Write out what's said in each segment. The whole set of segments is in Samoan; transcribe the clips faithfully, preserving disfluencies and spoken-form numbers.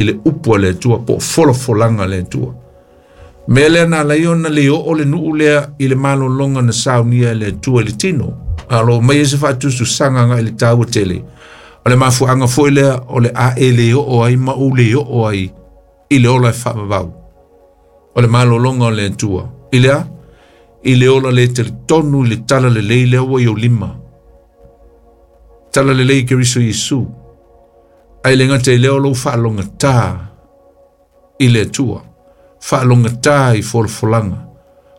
I le upu a le Atua po o folafolaga a le Atua. Mea lea na ala ai ona le oo le nuu lea i le malologa na saunia e le Atua i le tino. A o lo o aumai ai se faatusatusaga agai i le taua tele. O le mafuaaga foi lea o le a e le oo ai ma ou le oo ai i le ola e faavavau. O le malologa o le Atua. I le a? I le ola le talitonu i le tala lelei lea ua i ou lima. Tala lelei i Keriso Iesu. Ae le gata i lea o lou faalogata i le Atua. Faalogata i folafolaga.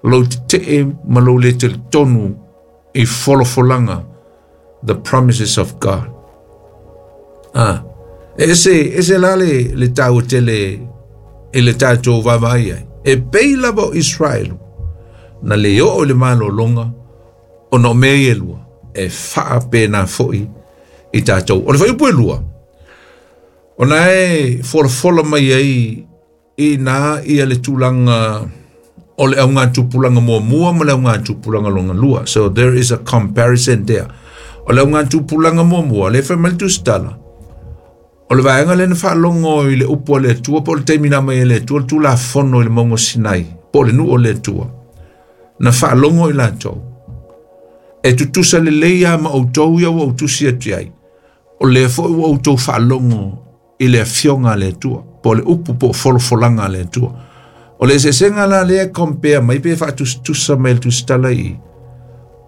Lou tetee ma lou le talitonu i folafolaga. The promises of God. Ah, e ese, ese la le, le taua tele i le tatou vaavaai ai. E pei lava o Israelu na le oo i le malologa ona o mea ia e lua e faapena foi i tatou. O le fuaiupu e lua, ona e folafola mai ai i ina ia le tulaga o le augatupulaga muamua ma le augatupulaga lona lua. So there is a comparison there. O le augatupulaga muamua, lea e fai mai le tusitala, o le vaega lea na faalogo i le upu a le Atua po o le taimi na aumai e le Atua le Tulafono i le mauga o Sinai, po o le nuu o le Atua, na faalogo i latou. E tutusa lelei lava ma outou ia ua ou tusi atu i ai, o lea foi ua outou faalogo i le afioga a le Atua, po o le upu po o folafolaga a le Atua. O le eseesega la lea e compare mai pe faatusatusa mai le tusitala i i,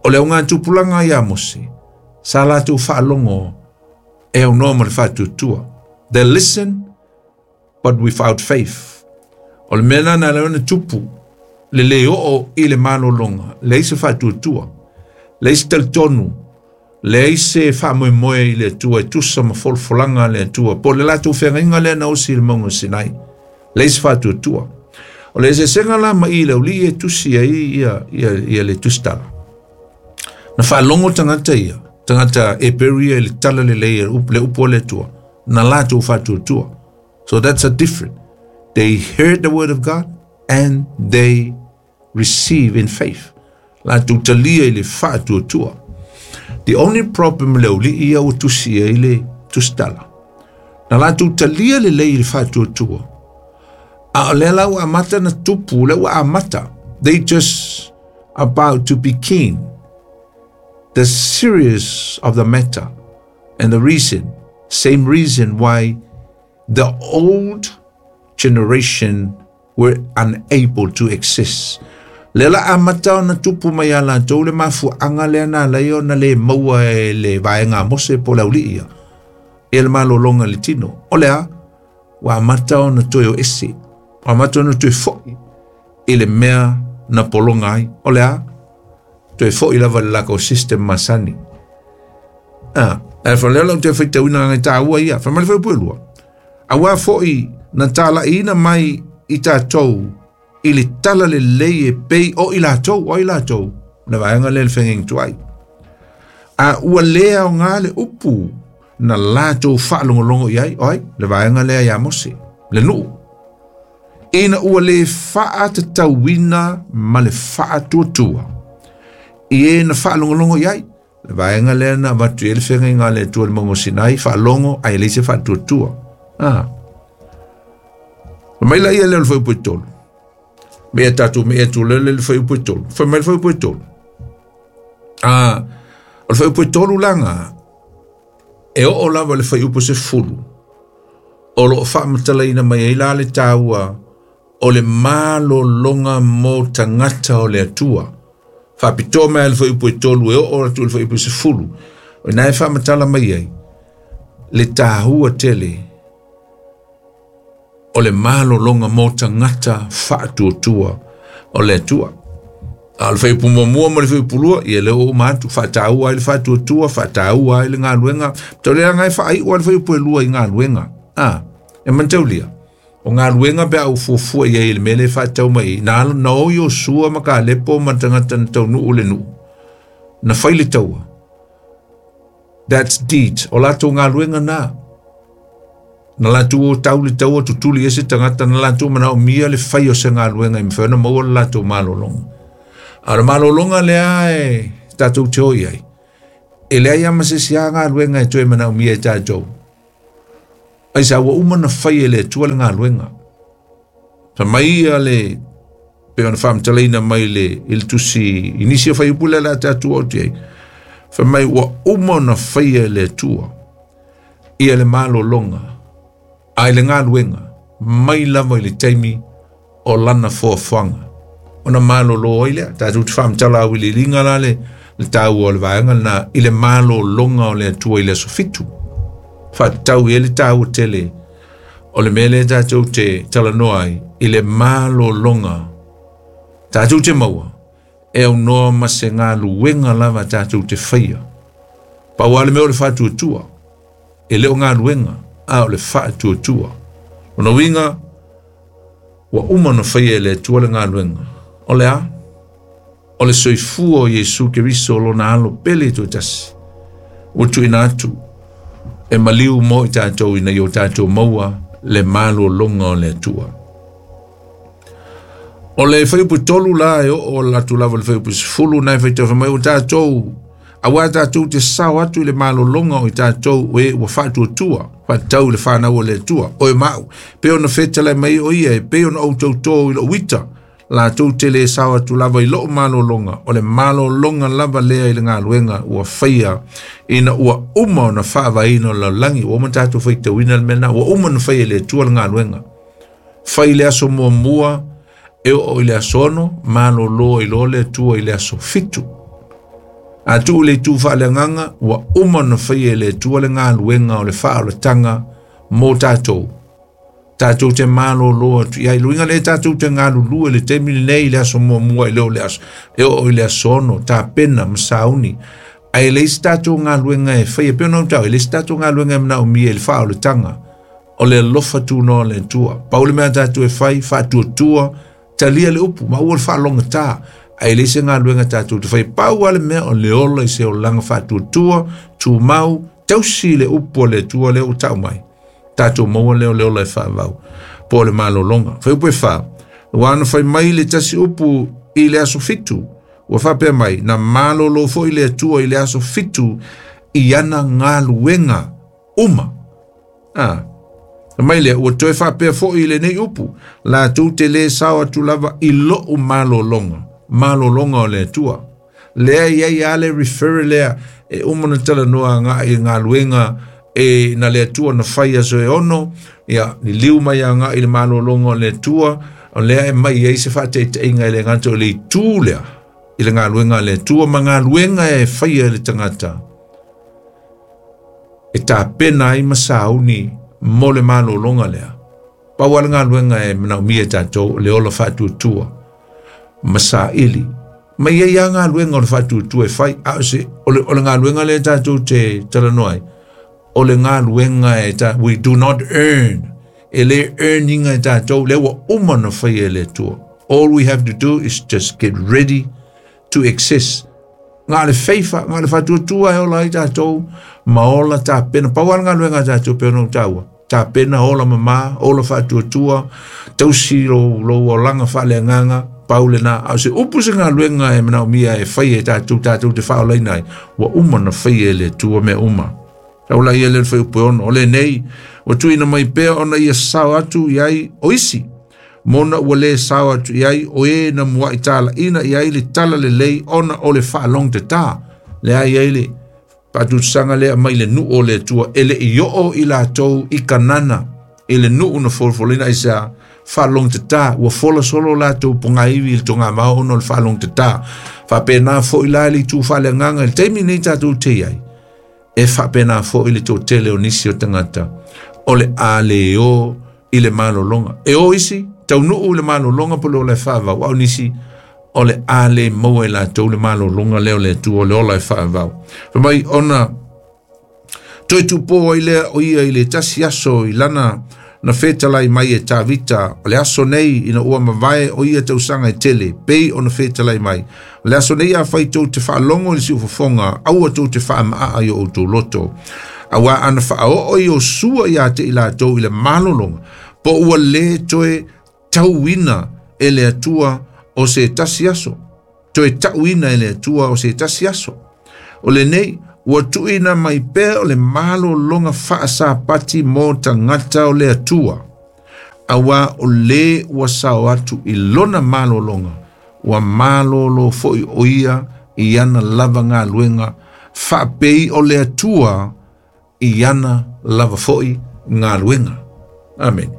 o le augatupulaga ia Mose, sa latou faalogo e aunoa ma le faatuatua. They listen but without faith. O le mea lena na ala ai ona tupu le le oo i le malologa, leai se faatuatua, leai se talitonu, leai se faamoemoe i le Atua e tusa ma folafolaga a le Atua, po o le latou feagaiga lea na osi i le mauga o Sinai, leai se faatuatua. O le eseesega la ma i le aualii e tusi ai ia, ia, ia le tusitala. Na faalogo tagata ia, tagata Heperu ia i le tala lelei le upu a le Atua, na latou faatuatua. So that's a different. They heard the word of God and they receive in faith. Latou talia i le faatuatua. The only problem le aualii ia ua tusi ai le tusitala. Na latou talia lelei i le faatuatua. A o lea la ua amata na tupu, lea ua amata. They just about to begin the serious of the matter and the reason, same reason why the old generation were unable to exist. Lea la amata ona tupu mai ia latou le mafuaaga lea na ala ai ona le maua e le vaega a Mose po o le aualii ia, ia le malologa i le tino. O le a? Ua amata ona toe o ese. Ua amata ona toe foi i le mea na pologa ai. O le a? Toe foi lava i le lakou system masani. Ah, ae fa lea la ou te faitauina ngai tāua ia. Fai mai le fuaiupu e lua. Auā foi na talaiina mai i tatou i le tala lelei e pei o i latou, o i latou, le vaega lea le feagaiga tuai. A ua le aoga le upu na latou faalogologo i ai, o ai, le vaega lea ia Mose, le nuu. Ina ua le faatatauina ma le faatuatua i e na faalogologo i ai, le vaega lea na avatu i ai le feagaiga a le Atua i le mauga o Sinai, faalogo ae leai se faatuatua. Ah. Fai mai laia lea o le fuaiupu e tolu. Mea tatou me atu lele le fuaiupu e tolu. Fai mai le fuaiupu e tolu. Ah, o le fuaiupu e tolu laga, e oo lava le fuaiupu sefulu, o lo o faamatalaina mai ai la le taua o le malologa mo tagata o le Atua. Faapitoa mai le fuaiupu e tolu e oo atu i le fuaiupu sefulu. O ina e faamatala mai ai le taua tele o le malologa mo tagata faatuatua o le Atua. A o le fuaiupu muamua ma le fuaiupu lua, ia lea ua uma atu, faataua ai le faatuatua, faataua ai le galuega. Tau leaga e faaiu ai le fuaiupu e lua i galuega. Ah, e manataulia. O galuega pe a ou fuafua i ai i le mea lea e faatau mai i, na, na o Iosua ma Kalepo ma tagata na taunuu le nuu, na fai le taua. That's deed. O latou galuega na. Na latou o tau le taua tutuli i se tagata, na latou manaomia le fai o se galuega e mafai ona maua le latou malologa. A o le malologa lea e tatou te o i ai, e leai lava ma se isi lava galuega e toe manaomia e tatou. Ai sa ua uma na fai e le Atua le galuega. Fa mai ia le pe ona faamatalaina mai le i le tusi i nisi o faiupu lea le a tatou o te ai. Fa mai ua uma ona faia e le Atua ia le malologa a i le galuega mai lava i le taimi o lana foafoaga. Ona malolo ai lea, tatou te faamatala auiliiliga la le le taua o le vaega lena i le malologa o le Atua i le aso fitu. Faatatau i ai le taua tele o le mea lea tatou te talanoa ai i le malologa tatou te maua e aunoa ma se galuega lava tatou te faia. Pau lava le mea o le faatuatua, e le o galuega, a o le faatuatua. Lona uiga, ua uma ona faia e le Atua le galuega. O le a? O le soifua o Iesu Keriso lona alo pele toatasi. Ua tuuina atu e maliu mo i tatou ina ia o tatou maua le malologa o le Atua. O le fuaiupu tolu la e oo atu lava i le fuaiupu sefulu na e faitau mai o tatou auā tatou te sao atu i le malologa o i tatou e ua faatuatua faatatau i le fanau o le Atua oe ma au pei ona fetalai mai o ia e pei ona ou tautō i lou ita latou te lē sao atu lava i loo malologa o le malologa lava lea i le galuega ua faia ina ua uma ona faavaeina o le lalolagi. Ua uma tatou faitauina le mea lena, ua uma ona faia e le Atua le galuega. Fai le aso muamua e oo i le aso ono, malolo ai loa le Atua i le aso fitu. A tuu le itu faaleagaga, ua uma ona faia e le Atua le galuega o le faaolataga mo tatou. Tatou te malolo atu i ai. Luiga le tatou te galulue le taimi lenei i le aso muamua i le o le aso e oo i le aso ono, tapena ma sauni. Ae leai se tatou galuega e faia, pei ona ou tau, e leai se tatou galuega e manaomia i le faaolataga o le alofa tunoa o le Atua. Pau le mea tatou e fai, faatuatua, talia le upu, ma ua le faalogata. Ae leai se galuega tatou te fai. Pau lava le mea o le ola i se olaga faatuatua, tumau, tausi le upu o le Atua lea ua tau mai. Tatou maua lea o le ola e faavau po o le malologa. Fuaiupu e fa, ua ana fai mai le tasi upu i le aso fitu, ua faapea mai, na malolo foi le Atua i le aso fitu i ana galuega uma. Ah, mai lea, ua toe faapea foi i lenei upu, latou te lē sao atu lava i lou malologa, malologa o le Atua. Lea i ai a le refer lea e uma ona talanoa agai i galuega e na le Atua na fai aso e ono, ia liliu mai agai i le malologa o le Atua, o lea e mai ai se faataitaiga i le gata o le itu lea i le galuega a le Atua ma galuega e faia e le tagata e tapena ai ma sauni mo le malologa lea. Pau lava le galuega e manaomia e tatou le ola faatuatua ma saili. Ma ia ia galuega o le faatuatua e fai, a o se o le, o le galuega lea tatou te talanoa ai, o le galuega e ta, we do not earn, e le earninga e tatou, lea ua uma ona faia e le Atua. All we have to do is just get ready to access. Ngā le feifa, ngā le faatuatua e ola ai tatou, ma ola tapena. Pau lava le galuega a tatou pei ona ou taua. Tapena, ola mamā, ola faatuatua, tausi lou, lou olaga faaleagaga, pau lena. A o se upu se galuega e manaomia e fai e tatou, tatou te faaolaina ai, ua uma ona faia e le Atua mea uma. Taula ia le fuaiupu e ono, o lenei, ua tuuina mai pea ona ia sao atu i ai o isi. Mona ua lē sao atu i ai o e na muaʻi talaʻina i ai le tala lelei ona o le faalogtatā. Lea i ai le faatutusaga lea mai le nuu o le Atua e le i oo i latou i Kanana i le nuu na folafolaina ai sea faalogtatā. Ua fola solo latou pogaivi i le togamao ona o le faalogtatā. Faapena foi la i le itu faaleagaga i le taimi nei tatou te i ai. E faapena foi le toatele o nisi o tagata o le a le o i le malologa. E o isi taunuu i le malologa po o le ola e faavau, a o nisi o le a le maua e latou le malologa lea o le Atua o le ola e faavau. Fai mai ona toe tupō ai lea o ia i le tasi aso i lana na fetalai mai e Tavita, o le aso nei ina ua mavae o ia tausaga e tele, pei ona fetalai mai. O le aso nei afai tou te faalogo i le siufofoga, aua tou te faamaaa i o outou loto. Auā ana faaoo i Iosua ia te i latou i le malologa, po ua lē toe tauina e le Atua o se tasi aso. Toe tauina e le Atua o se tasi aso. O lenei, Ua tuuina mai pea o le malologa faasapati mo tagata o le Atua. Auā o lē ua sao atu i lona malologa, ua malōlō foʻi o ia i ana lava galuega, faapei o le Atua i ana lava foʻi galuega. Amen.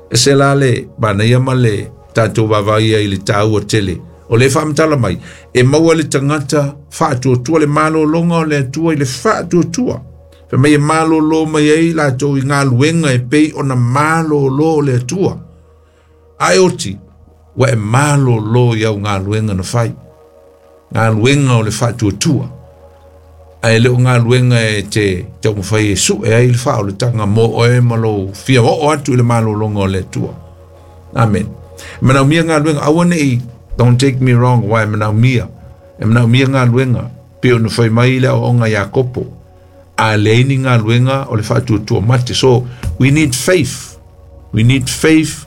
E se la le manaia ma le tatou vaavaai ai i le taua tele o le faamatala mai e maua le tagata faatuatua le malologa o le Atua i le faatuatua. Fai mai e malōlō mai ai latou i galuega e pei ona malōlō o le Atua. Ae oti, ua e malōlō i au galuega na fai. Galuega o le faatuatua. Ae le o galuega e te taumafai e sue ai le faaolataga mo oe ma lou fia oo atu i le malologa o le Atua. Amen. E manaomia galuega, aua nei, don't take me wrong, uae manaomia. E manaomia galuega, pei ona fai mai le aoaoga Iakopo. A leai ni galuega o le faatuatua mate. So, we need faith. We need faith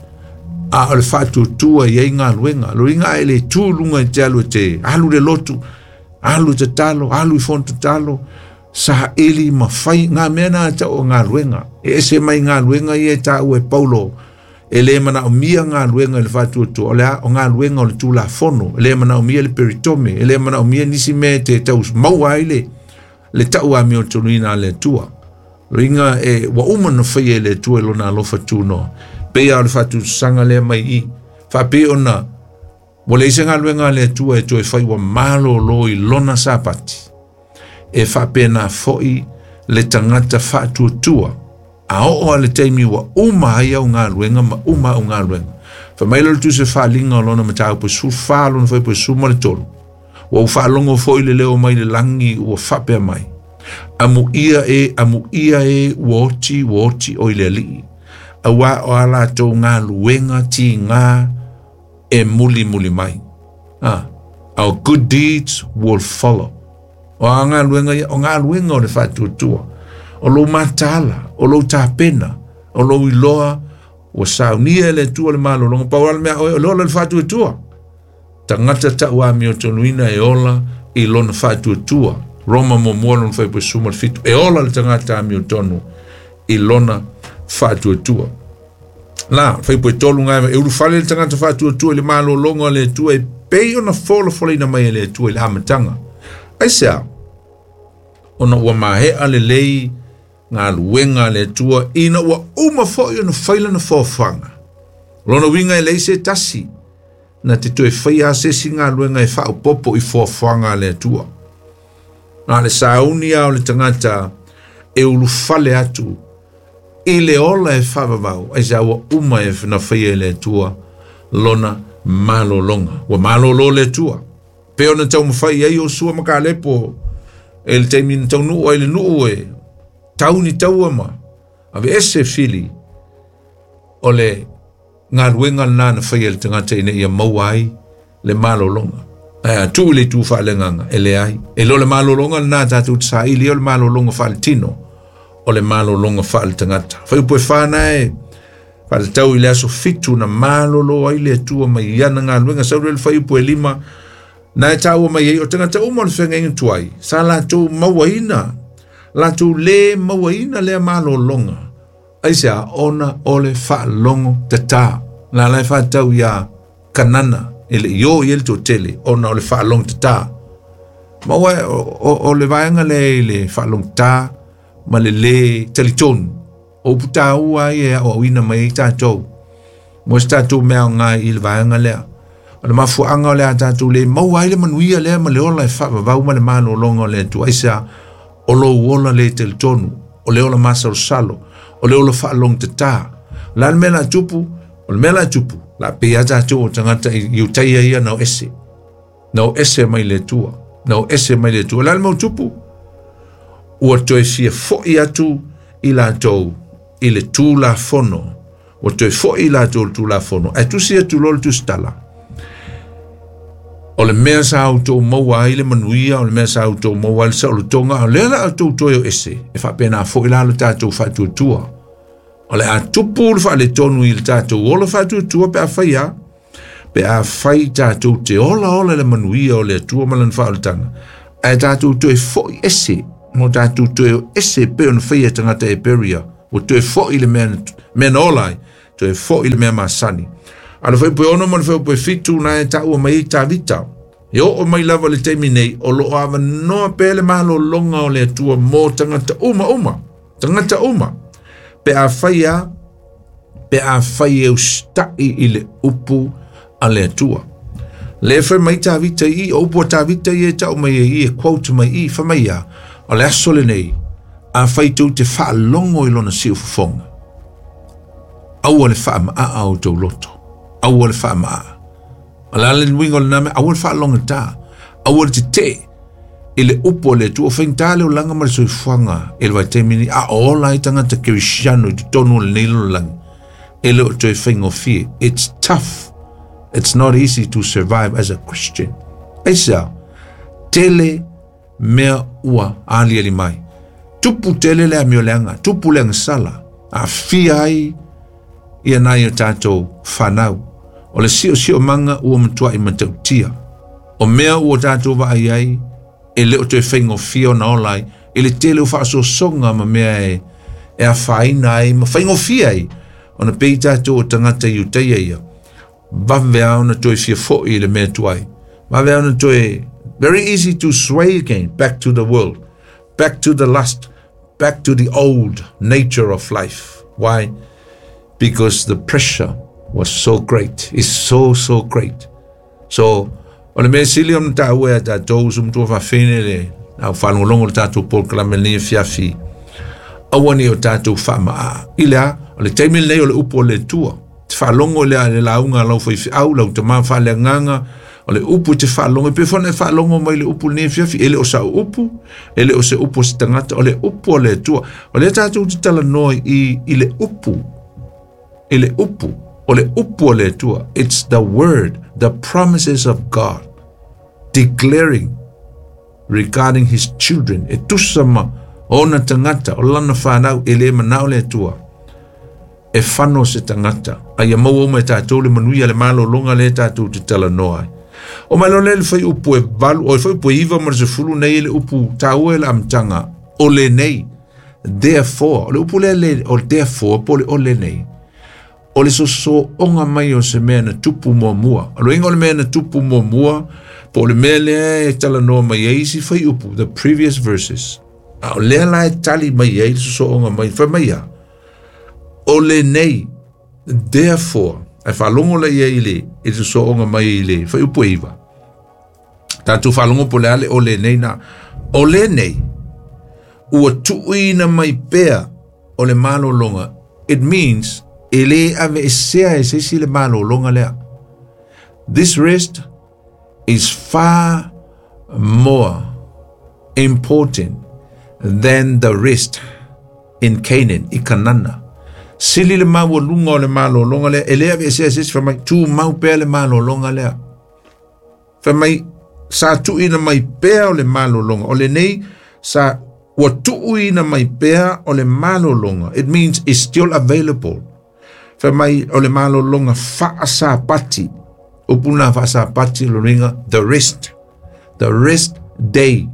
a o le faatuatua i ai galuega. Loiga a e le tu luga i te alu e te alu le lotu, alu i tatalo, alu i fono tatalo, saili ma fai ngā mea na tau o galuega. E ese mai galuega ia e taua e Paulo, e le manaomia galuega i le faatuatua, o le a o galuega o le Tulafono, e le manaomia le peritome, e le manaomia nisi mea e te tau maua ai le le tau amiotonuina a le Atua. Loiga e ua uma na faia e le Atua i lona alofa tunoa. Pei o le faatutusaga lea mai i. Faapei ona ua leai se galuega a le Atua e toe fai ua malōlō i lona sapati. E faapena foʻi le tagata faatuatua. A oo a le taimi ua uma ai au galuega ma uma au galuega. Fai mai le le tusi faaliga o lona mataupu sefulufa lona fuaiupu sefulu ma le tolu. Ua ou faalogo foʻi le leo mai le lagi ua faapea mai. Amuia e, amuia e, ua oti, ua oti o i le Alii. Auā o a latou galuega tigā e mulimuli mai. Ah, our good deeds will follow. O a galuega ia, o galuega o le faatuatua. O lou mataala, o lou tapena, o lou iloa, ua saunia e le Atua le malologa. Pau le mea oe, o le ola le faatuatua. Tagata tau amiotonuina e ola i lona faatuatua. Roma muamua lona fuaiupu sefulu ma le fitu. E ola le tagata amiotonu i lona faatuatua. La, fuaiupu tolu ngai, e ulufale le tagata faatuatua i le malologa o le Atua e pei ona folafolaina mai e le Atua i le amataga. Aisea, ona ua maea lelei galuega a le Atua ina ua uma foʻi ona fai lana foafoaga. Lona uiga e leai se tasi na te toe faia se isi galuega e faaopopo i foafoaga a le Atua. Na le sauni a o le tagata e ulufale atu i le ola e faavavau, aisea ua uma e na faia e le Atua lona malologa. Ua malōlō le Atua. Pe ona taumafai ai Iosua ma Kalepo e le taimi na taunuu ai le nuu e tau ni taua ma aveese fili o le galuega lena na faia e le tagata ina ia maua ai le malologa. Ae a tuu i le itu faaleagaga e leai. E le o le malologa lena tatou te saili o le malologa faaletino, o le malologa faaletagata. Fuaiupu e fa na e faatatau i le aso fitu na malōlō ai le Atua mai i ana galuega. Sau lea le fuaiupu e lima na e taua mai ai o tagata uma o le feagaiga tuai sa latou mauaina, latou lē mauaina lea malologa. Aisea, ona o le faalogo tatā. La la e faatatau iā Kanana e le i o i ai le toatele ona o le faalogo tatā. Ma ua o, o, o le vaega lea i le faalogo tatā ma le lē talitonu. O upu tāua ai e aoaoina mai ai tatou. Mo se tatou mea aoga i le vaega lea. O le mafuaaga o le a tatou le maua ai le manuia lea ma le ola e faavavau ma le malologa o le Atua. Aisea, o lou ola le talitonu, o le ola masalosalo, o le ola faalogo tatā. O le a le mea la tupu? O le mea la tupu, la pei a tatou o tagata i utaia ia na o ese. Na o ese mai le Atua. Na o ese mai le Atua. O le a le mau tupu? Ua toe fia foʻi atu i latou i le Tulafono. Ua toe foʻi i latou i le Tulafono. Ae tusi atu loa le tusitala. O le mea sa outou maua ai le manuia, o le mea sa outou maua ai le saolotoga, o lea la outou toe o ese, e faapena foʻi la le tatou faatuatua. O le a tupu le faaletonu i le tatou ola faatuatua pe a fai a, pe a fai tatou te ola ola le manuia o le Atua ma lana faaolataga, ae tatou toe foʻi ese Mo tātou toe o ese pe ona whaia tangata e peria. O toe fo i le mea, mea na ola ai. Toe fo i le mea masani. A le whaipu e ono ma le whaipu e fitu na e tāua mai i Tavita. E o o mai lava le taimi nei, o lo awa noa pe le malo longa o le atua mō tangata uma uma. Tangata uma. Pe a whaia, pe a whai e ustai i le upu a le atua. Le whai mai Tavita i, o upu a Tavita i e tau mai e i, e quote mai i, whai mai ia, o le aso le nei, a whai tau te whaalongo i lona siu fufonga. Aua le wha maa o tau loto. Aua le wha maa. O le ale nuinga o le name, aua le whaalonga tā. Aua le te te, i le upu o le atua, o whaingtā le o langa ma le soifuanga, e le vaitaimi ni, a ola i tangata kerishiano i te tonu o le nei lo langi. E le o toe whaingofie. It's tough. It's not easy to survive as a Christian. Aisa, tele mea ua ali ali mai. Tupu tele le amio leanga, tupu le sala. A fia ai ia nai o tātou whanau. O le sio sio manga ua matua i matautia. O mea ua tātou vaai ai, e le o toe whaingofia o na ola ai, e le tele o whaasosonga ma mea e, e a whaina ai, ma whaingofia ai. O na pei tātou o tangata i uteia ia. Vave au na toe fia foi i le mea tuai. Vave au na toe, very easy to sway again back to the world, back to the lust, back to the old nature of life. Why? Because the pressure was so great. It's so, so great. So, o le mea sili o na tāua e tātou sumtua whawhene le, au whanongolongo le tātou polokalame ni fiafi. Aua ni o tātou whamaa. I lea, o le taimi nei o le upu o le tua. Te whalongo lea le launga lau whai au, lau te maa whalea nganga, o le upu te whalongo, pe whana e whalongo mai le upu ni fiafi, ele o sa upu, ele o se upu o se tangata, o le upu o le tua. O le tātou te tala noa i, i le upu, i le upu, o le upu o le tua. It's the word, the promises of God, declaring regarding his children. E tusama ona tangata, o lana whanau, e le manao le tua. E whano se tangata. Ai a mau o mai tātou le manuia le malo longa le tātou te tala noa ai. O mai le whai upu e valu, o whai upu e iwa ma se fulu nei le upu tāua e le amtanga, o le nei, therefore, o le upu le le, o therefore, po le o le nei, o le soso onga mai o se mea na tupu mua mua. O le inga o le mea na tupu mua mua, po le mea lea e tala noa mai e isi whai upu, the previous verses. A o lea la e tali mai e le soso onga mai, whai mai a. O le nei, therefore, ai whalongo le ia i le, e te soonga mai i le, whai upu e iwa. Tātou whalongo po le ale o le nei nā. O le nei, ua tuuina mai pea o le malolonga. It means, e le ave e sea e sesi le malolonga lea. This rest is far more important than the rest in Canaan, i Kanana. Sili le maua lunga o le malolonga lea, e lea ve se se fa mai tu mau pea le malolonga lea. Fa mai sa tuuina mai pea o le malolonga. O le nei sa ua tuuina mai pea o le malolonga. It means it's still available. Fa mai o le malolonga faasapati. Upuna faasapati lo ringa the rest. The rest day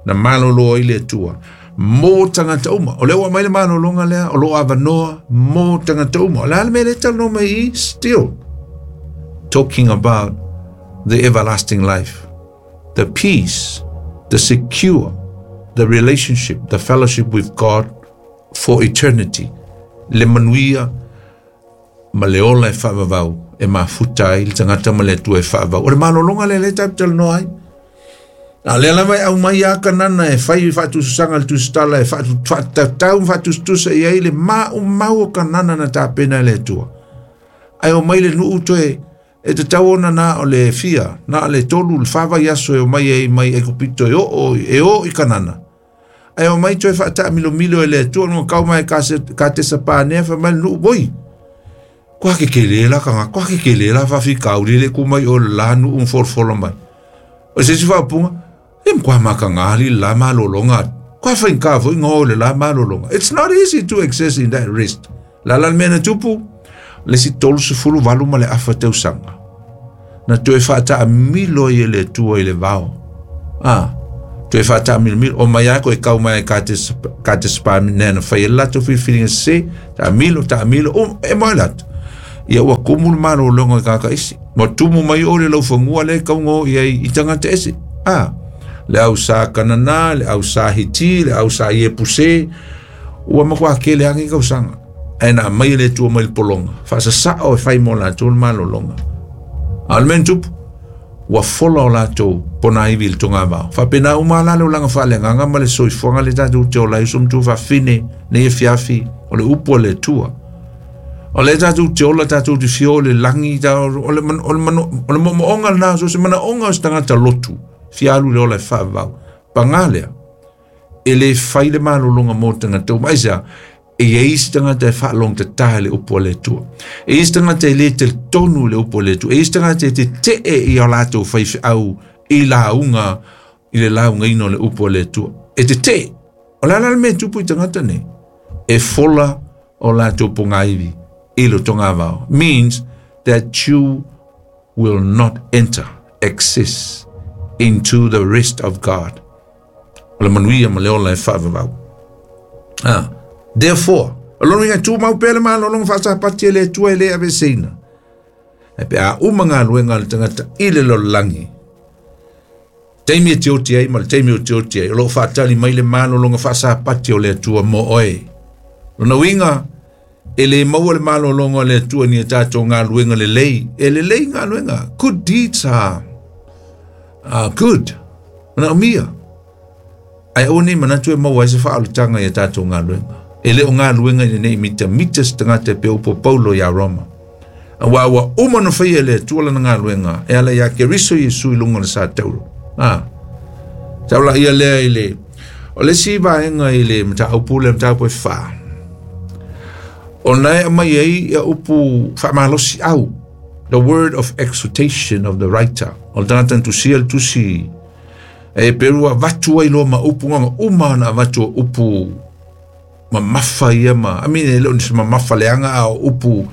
na malolo i le tua. Mō tangata uma. O le ua mai le malolonga lea, o lo avanoa, mō tangata uma. O le ale me le talo mai i, still talking about the everlasting life, the peace, the secure, the relationship, the fellowship with God for eternity. Le manuia ma le ola e whaavavau, e mafuta ai, le tangata ma le atua e whaavavau. O le malolonga le le tapu talanoa ai. A lea lava e au mai a kanana e whai whaatususanga le tusitala e whaatatau whaatusutusa i ai le mau mau o kanana na tāpena le atua. Ai o mai le nuu toe e te tau ona nā o le fia, nā le tolu le whawai aso e o mai e mai e kopito e o, o, e o i kanana. Ai o mai toe whaataa milo milo e le atua no kau mai ka, se, ka te sapānea wha mai le nuu boi. Kua ke ke le la kanga, kua ke ke le la whawhi kauri le kumai o la nuu mforfolo mai. O se si whapunga, e mkwa makangali la malolonga. Kwa whainka fo ingo le la malolonga. It's not easy to access in that rest. La la mena tupu, le si tolu sefulu valu ma le afa teusanga. Na toe whaata a milo i le tua i le vao. Ah, Toe faatamilomilo o mai ako e kau mai ka te ka te spa nena fai lato filifiliga sesē taamilo taamilo um e moe lato ia ua kumu le malologa i kakaisi ma tumu mai o le laufagua le kauga o i ai i tagata ese a le au sa Kanana le au sa Hiti le au sa Iepuse ua makuā kele agi kausaga ae na aumai le Atua mai le pologa faasasao e fai mo latou le malologa a o le mea tupu ua fola o latou ponaivi i le togavao faapena uma la le olaga faaleagaga ma le soifuaga le tatou te ola ai uso ma tuafafine nei e fiafi o le upu a le Atua o le tatou te ola tatou te fio le lagi o le o le moomooga lena so se manaoga o se tagata lotu fialu le ola e faavavau pagā lea e lē fai le malologa mo tagata uma aisea e iai se tagata e faalogtatā i le upu a le Atua e iai se tagata e lē talitonu i le upu a le Atua e iai se tagata e tete'e ia latou faifeau i lauga i le laugaina o le upu a le Atua e tete'e o le a la le mea tupu i tagata nei e fola o latou pogaivi i le togavao means that you will not enter access into the rest of God o le manuia ma le ola e faavavau ah therefore o lona uiga tumau pea le malologa faasapati e le Atua e lē aveseina e pe a uma galuega a le tagata i le lalolagi taimi e tioti ai ma le taimi o tioti ai o loo faatali mai le malologa faasapati o le Atua mo oe lona uiga e lē maua le malologa o le Atua ni e tatou galuega lelei e lelei galuega good deeds are, are good manaomia ae aua nei manatu e maua ai se faaolataga ia tatou galuega e lē o galuega ina nei mitamita se tagata e pea upu Paulo iā Roma auā ua uma na faia e le Atua lana galuega e ala iā Keriso Iesu i luga o le satauro a taulaia lea i le o le isi vaega i le mataupu le mataupu e fā ona e aumai ai ia upu faamalosi au the word of exhortation of the writer o le tagata na tusia le tusi e peru avatu ai loa ma upu gaga uma ona avatu o upu mamafa ia ma I mean e le o ni se mamafa leaga a o upu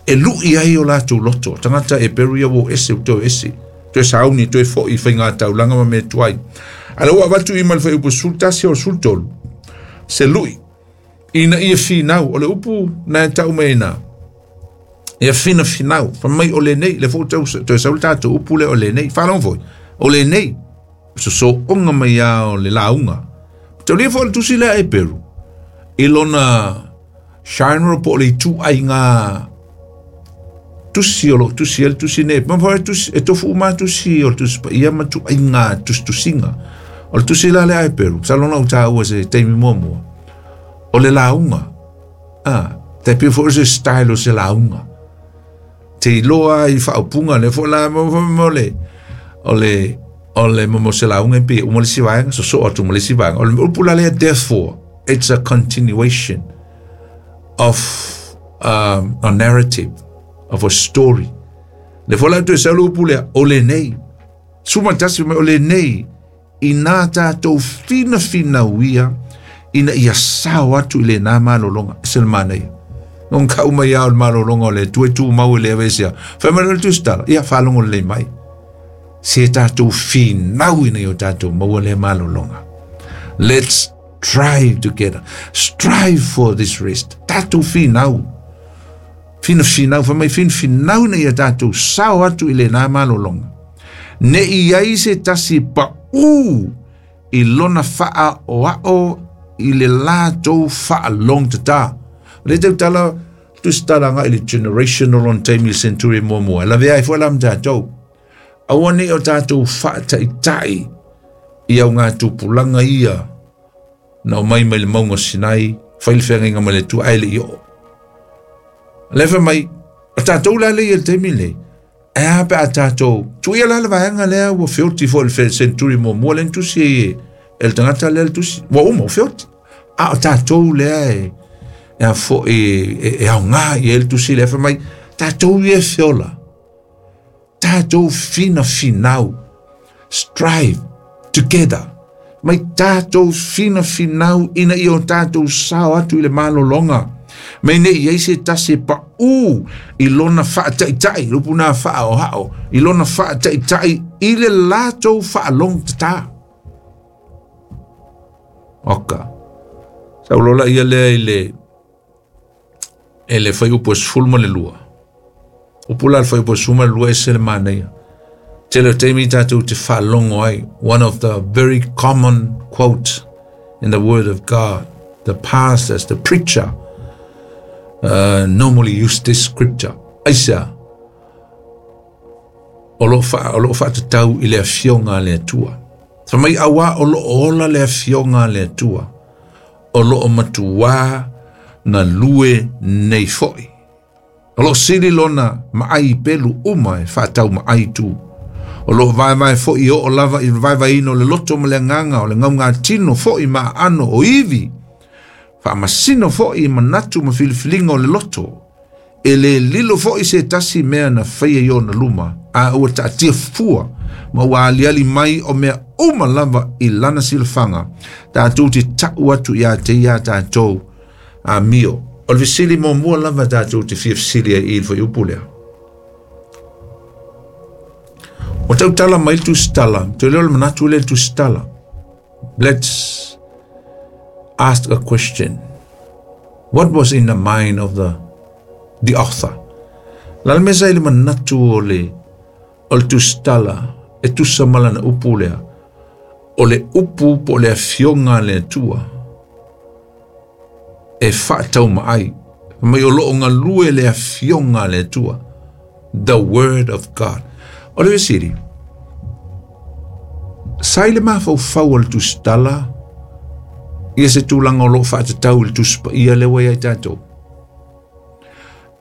e lu'i ai o latou loto tagata e peru ia ua ese ua toe ese toe sauni toe fo'i faiga taulaga ma mea tuai a le ua avatu i ma le fuaiupu sefulu tasi o le sefulu tolu se lu'i ina ia finau o le upu na e tau mai ina ia finafinau fa mai o lenei le foi tau toe sau le tatou upu lea o lenei faalogo foi o lenei sosooga mai a o le lauga taulia foi le tusi lea e Peru i lona genre po o le ituaiga tusi o loo tusi ai le tusi nei ma foi tusi e tofu uma tusi o le tusi paia ma ituaiga tusitusiga o le tusi la lea e Peru masalo na ou taua se taimi muamua o le lauga a tai pei foi o se style o se lauga te iloa i faaupuga lea foi la mo le o le o le mo se lauga e pei uma le isi vaega sosoo atu ma le isi vaega o le upu la lea therefore it's a continuation of um, a narrative of a story le foi la toe sau le upu lea o lenei suma tasi mai o lenei inā tatou finafinauia ina ia sao atu i lenā malologa e se le manaia non kau mai ao le malologa o le Atua e tumau e le aveesea fai mai le tusitala ia faalogo lelei mai se tatou finau ina ia o tatou maua lea malologa let's strive together strive for this rest tatou finau finafinau fai mai finafinau ina ia tatou sao atu i lenā malologa ne i ai se tasi paʻū i lona faaoao i le latou faalogtatā o le tautala tusitala agai i le generational on taimi le century muamua e lavea ai foi la ma tatou aua nei o tatou faataʻitaʻi i augatupulaga ia na omai mai le mauga o Sinai fai le feagaiga ma le Atua ae leʻi oo le fai mai o tatou la le ia le taimi lenei e a pe a tatou tuia la le vaega lea ua feoti foi le century muamua lea na tusi ai e e le tagata lea le tusi ua uma ua feoti a o tatou lea e e a foi e, e aogā i ai le tusi lea fai mai tatou ia e feola tatou finafinau strive together mai tatou finafinau ina ia o tatou sao atu i le malologa mai nei ai se tasi e paʻū i lona faataʻitaʻi le upu na faaoao i lona faataʻitaʻi i le latou faalogtatā Oka. Sa ulola ia lea i le e le fai upu e sefulu ma le lua. Upu la le fai upu e sefulu ma le lua e se le manaia. Tele o taimi tatou te faalogo ai. One of the very common quote in the word of God. The pastors, the preacher uh, normally use this scripture. Aisa, o lo fa o lo fa tau i le afioga a le Atua. Fa mai awa o lo ola le afioga a le Atua. O lo o matua na lue nei foi. O lo sili lona maai pelu uma e whaatau maai tu. O lo vai vai foi o o lava i vai vai ino le loto ma le nganga o le ngau ngā tino foi ma ano o iwi. Wha masino foi manatu ma filifilinga o le loto. E le lilo foi se tasi mea na whaia i ona luma. A ua taatia fua ma ua aliali mai o mea uma lava i lana silafanga. Tātou te tau atu ia te ia tātou a mio. O le vesili mo mua lava tātou te fia vesili ai i le whai upu lea. O tau tala mai le tusitala, te leo le manatu le tusitala. Let's ask a question. What was in the mind of the, the author? La le mesa i le manatu o le, o le tusitala, e tusa malana upu lea, o le upu po le afioga le Atua, e whaatau maai, mai o loo ngalue le afioga le Atua, the word of God. O le vesiri, sai le mafaufau o le tusitala, ia se tūlanga o loo whaatatau i le tusipaia le wai ai tātou.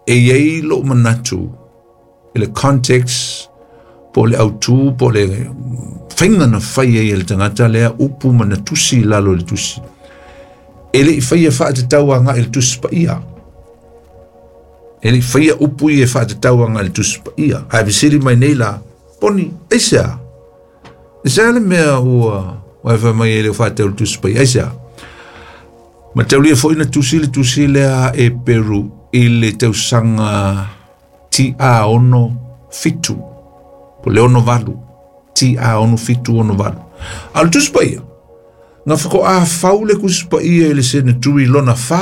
E iei loo manatu, i le context, po le autu, po le whainga na whai ai le tangata lea, upu mana tusi lalo le tusi. E le i whaia whaatatau anga i le tusipaia. E le i whaia upu i e whaatatau anga i le tusipaia. Ai vesiri mai nei la, poni, aisea. Aisea le mea ua, ua e mai e le whaatau le tusipaia, aisea. Ma taulia foi na tusi le tusi lea e Peru i le tausanga ti a ono fitu. Po le ono valu. Ti a ono fitu ono valu. A le tusipaia. Ngā whako a faule kusipaia i le sene tui lona wha.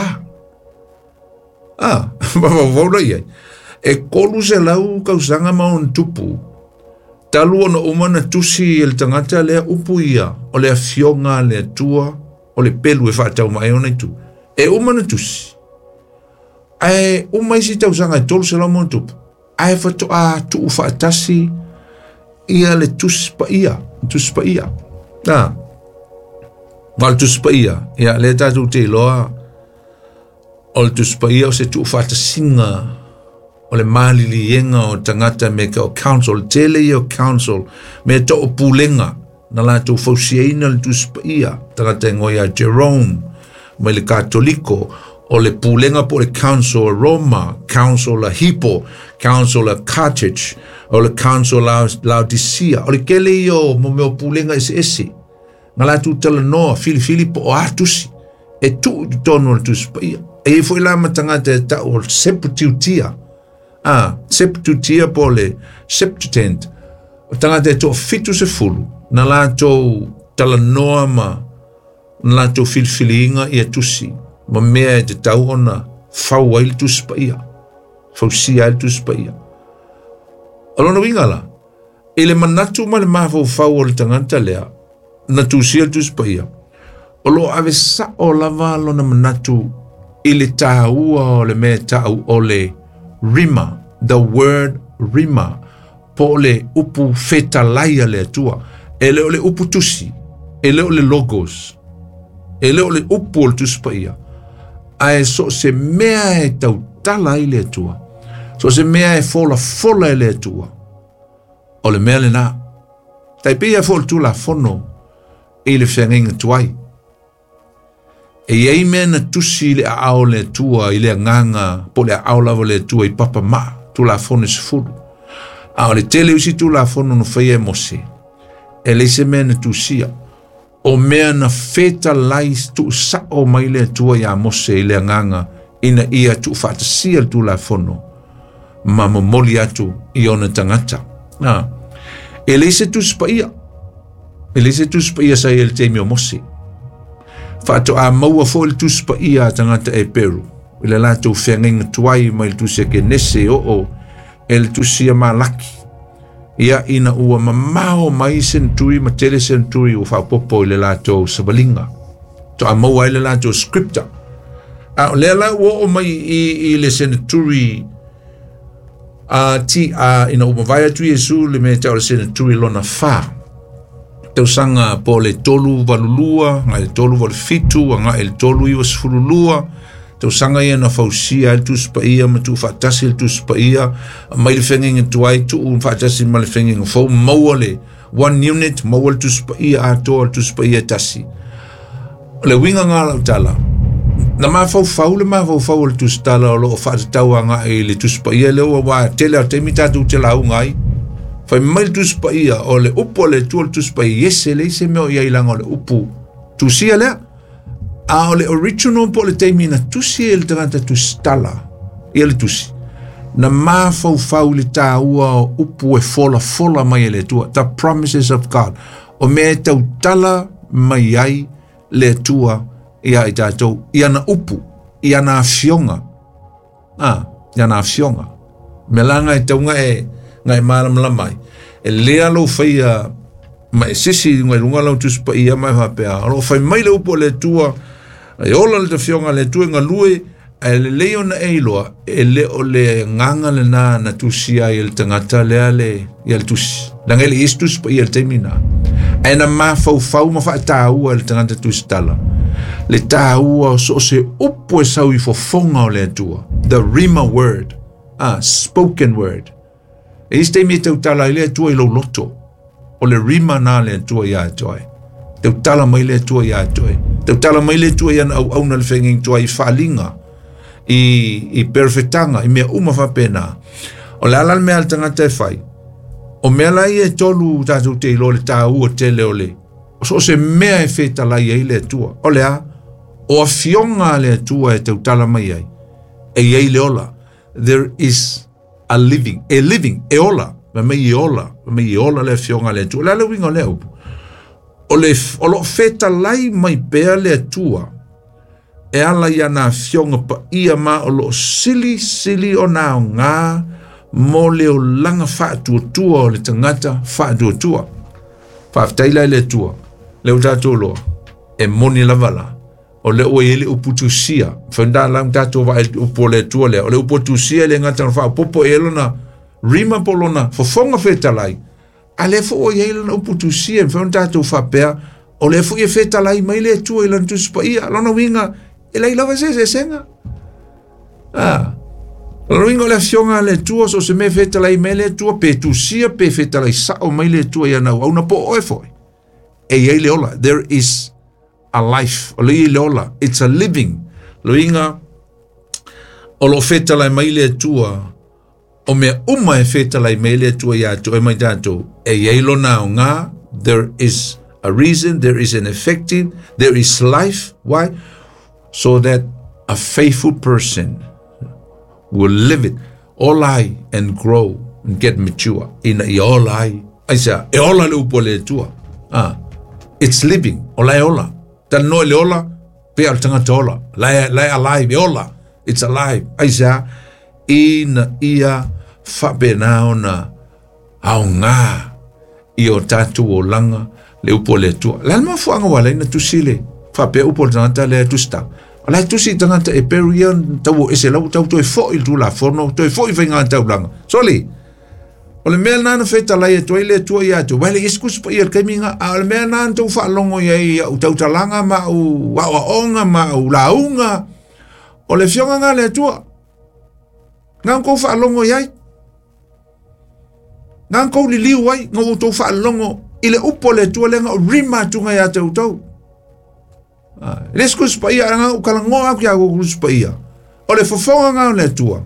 Ah, wawawaula iai. E kolu se lau kausanga maon tupu. Talu ona umana tusi i le tangata lea upu ia. O le afioga le Atua. O le pelu e whaatau mai ona itu. E umana tusi. Ae uma isi tausanga e tolu se lau maon tupu. Ae whato a tuu whaatasi ia le tusi pa ia. Tusi pa ia. Ah. Ma le tusipaia, ia le tātou te iloa, o le tusipaia o se tuufaatasinga o le maliliega o tagata me ka o council, le tele ia o council, me to o pulega, na latou fausiaina le tusipaia, tagata e ngoia Jerome, mai le Katoliko, o le pulega po le council a Roma, council a Hippo, council a Carthage, o le council a Laodicea, o le kele ia o mo mea o pulega ese ese. Ngā lātou tala noa, filifili po o atusi, e tuu i tonu o le tusipaia. E i foi la matangata e tau o le seputiutia. Ah, seputiutia po le Septuagint. O tangata e toa fitu se fulu, na lātou tala noa ma, na lātou filifiliinga i atusi. Ma mea e te tau ona fau ai le tusipaia. Fausia ai le tusipaia. O lona winga la, e le manatu ma le mafaufau o le tangata lea, na tusia le tusipaia. O lo ave sao lava lona manatu i le tāua o le mea tau o le rima, the word rima, po le upu fetalaia le Atua. E le o le upu tusi, e le o le logos, e le o le upu o le tusipaia. Ae so se mea e tautala i le Atua, so se mea e fola fola i le Atua, o le mea le nā. Tai pia fo le tula fono i le whengainga tuai. E iei mea na tusi le aao le Atua i le anganga po le aao lava le Atua i papa maa, tula fono se fulu. A o le tele usi tula fono no whaia e Mose. E leise mea na tusia. O mea na wheta lai tu sao mai le Atua ia Mose i le anganga ina ia tu whaatasia le tula fono. Ma momoli atu i ona tangata. Ah. E leise tusi paia. E leise tusi paia sa i le teimi o Mose. Faatoa maua foi le Tusi Paia a tagata Eperu i le latou feagaiga tuai mai le Tusi a Kenese e oo e le Tusi a Malaki. Ia ina ua mamao mai seneturi ma tele seneturi ua faapopo i le latou savaliga. Toa maua ai le latou scripture. A o lea la ua oo mai i, i le seneturi a ti a ina ua mavae atu Iesu le mea tau o le seneturi lona fa. Tausaga po le tolu valulua, ngai le tolu valu fitu, ngai le tolu iwa sefululua. Tausaga ia na fausia ai le Tusi Paia ma tuufaatasi le Tusi Paia mai le feagaiga tuai tuu faatasi ma le feagaiga fou maua le one unit maua le Tusi Paia atoa le Tusi Paia tasi. O le uiga gā lau tala na mafaufau le mafaufau o le Tusi Tala o loo faatatau agai i le Tusi Paia lea ua ua tele o taimi tatou te lauga ai. Fai mai le Tusi Paia o le upu a le Atua le Tusi Paia ese leai se mea o i ai laga o le upu tusia lea. A o le original po o le taimi na tusi e le tagata tusi tala ia le tusi. Na mafaufau le tāua o upu e folafola mai e le Atua. The promises of God. O mea e tautala mai ai le Atua ia i tatou. I ana upu, i ana afioga. Ah, i ana afioga. Mea la e tau e ngai malamalama ai. E lea lou faia ma e sisi ngai lunga lau Tusi Paia mai faapea. O loo fai mai le upu o le Atua e ola le tafioga le Atua e galue ae lelei ona e iloa e le o le agaga lena na tusi ai e le tagata lea le ia le tusi. Leaga e le isi Tusi Paia le taimi na. Ae na mafaufau ma faataua e le tagata tusi tala. Le tāua o so o se upu e sau i fofoga o le Atua. The Rhema word. Ah, spoken word. E isi taimi e tautala ai le Atua i lou loto. O le rima na le Atua ia te oe. Tautala mai le Atua ia te oe. Tautala mai le Atua i ana auauna le feagaiga tuai i faaliga, i, i perofetaga, i mea uma faapena. O le ala le mea a le tagata e fai. O mea la ia e tolu tatou te iloa le tāua tele o le. O so o se mea e fetalai ai le Atua. O le a, o afioga a le Atua e tautala mai ai. E i ai le ola. There is a living, a living, e ola. Ma mei e ola, ma mei e ola le afioga a le Atua. O le a le uiga o lea upu. O le, o loo fetalai mai pea le Atua. E ala i ana afioga paia ma o loo sili sili ona aogā mo le olaga faatuatua o le tagata faatuatua. Faafetai la i le Atua. Le o tatou loa. E moni lava la. O le ua i ai le upu tusia. Whaunda la tatou vaai le upu o le Atua lea. O le upu tusia le gata na faapopo e lona rima po lona fofoga fetalai. A le fo o i ai lona upu tusia. Whaunda tatou faapea. O le fo i e fetalai mai le Atua i lana Tusi Paia. Lona uiga e leai lava se eseesega. Ah. Lona uiga o le afioga a le Atua so se mea fetalai mai le Atua pe tusia pe fetalai sao mai le Atua i ana auauna po o oe foi. E i ai le ola. There is a life. O le i le ola. It's a living. Loiga o lo fetalai mai le Atua o mea uma e fetalai mai le Atua ia te oe mai tatou. E i ai lona aoga. There is a reason. There is an effective. There is life. Why? So that a faithful person will live it all ai and grow and get mature. Ina ia ola ai. Aisea, e ola le upu a le Atua. Ah, it's living. O la e ola. Talanoa i le ola, pea o le tagata ola. La e, la e alive, e ola. It's alive. Aisea, ina ia faapena ona aogā i o tatou olaga le upu o le Atua. Le a le mafuaaga ua ala ai na tusi le faapea upu o le tagata lea e tusi tala. O la e tusi i tagata e peru ia tau o ese lau tau toe foi i le Tulafono, toe foi i faiga taulaga. Soli, o le mea lena na fetalai atu ai le Atua ia te oe, le isi Tusi Paia i le taimi lena, a o le mea lena na tou faalogo i ai i au tautalaga ma au aoaoga ma au lauga, o le afioga lena a le Atua. Na tou faalogo i ai. Na tou liliu ai, na outou faalogo i le upu a le Atua lea na o rima atuga ia te outou. Ah, le isi Tusi Paia, na ou talanoa atu ia outou Tusi Paia. O le fofoga lena o le Atua.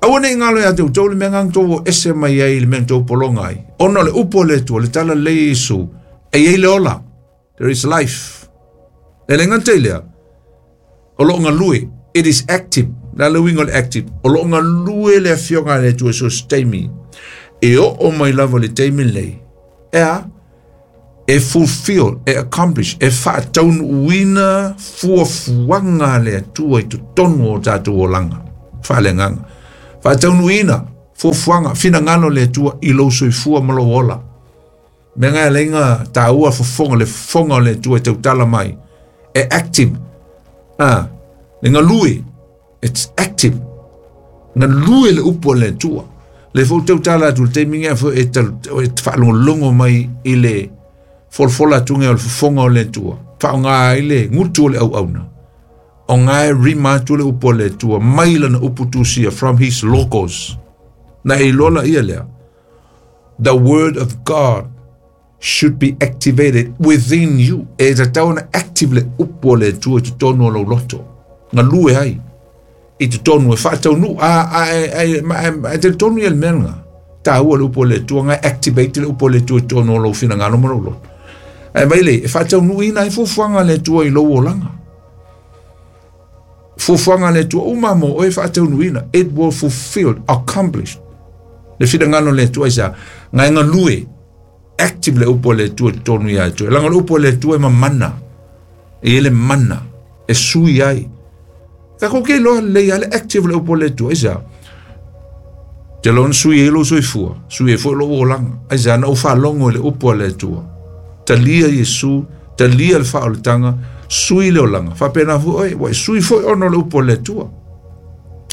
Aua nei galo ia te outou le mea na tou o ese mai ai i le mea na tou pologa ai. Ona o le upu o le Atua, le tala lelei a Iesu, e i ai le ola. There is life. E le gata i lea, o loo galue. It is active. Le a le uiga o le active? O loo galue le afioga a le Atua i so o se taimi. E oo mai lava i le taimi lenei. E a? E fulfill, e accomplish, e faataunuuina fuafuaga a le Atua i totonu o tatou olaga faaleagaga. Faataunuuina fuafuaga finagalo le Atua i lou soifua ma lou ola. Mea ga leiga taua fofoga le fofoga o le Atua e tautala mai. E active. Ah, le galue. It's active. Galue le upu o le Atua. Le fou tautala atu le taimi ngea fo e faalogologo mai i le folafola atuga o le fofoga o le Atua. Faaaoga ai le gutu o le auauna. O ngae rima atu le upu o le Atua mai lana upu tusia from his logos. Na e iloa ia lea. The word of God should be activated within you. E tatau ona active le upu o le Atua i totonu o lou loto. Galue ai i totonu e faataunuu a a a talitonu ia le mea lena. Taua le upu o le Atua ngae activate le upu o le Atua i totonu o lou finagalo ma lou loto. Ae mai le e faataunuuina ai fuafuaga a le Atua i lou olaga. Fuafuaga a le Atua uma mo oe faataunuuina. It will fulfill, accomplish. Le finagalo o le Atua isa ngae galue active le upu o le Atua i totonu ia te oe. Leaga le upu o le Atua e mamana. E i le mana e sui ai. Takou ke iloa lelei a le active le upu o le Atua aisea. Te loa ona sui ai lou soifua, sui ai foi lou olaga. Aisea na ou faalogo i le upu a le Atua. Talia Iesu, talia le faaolataga, sui le olaga. Faapena foi oe, ua e sui foi ona o le upu a le Atua.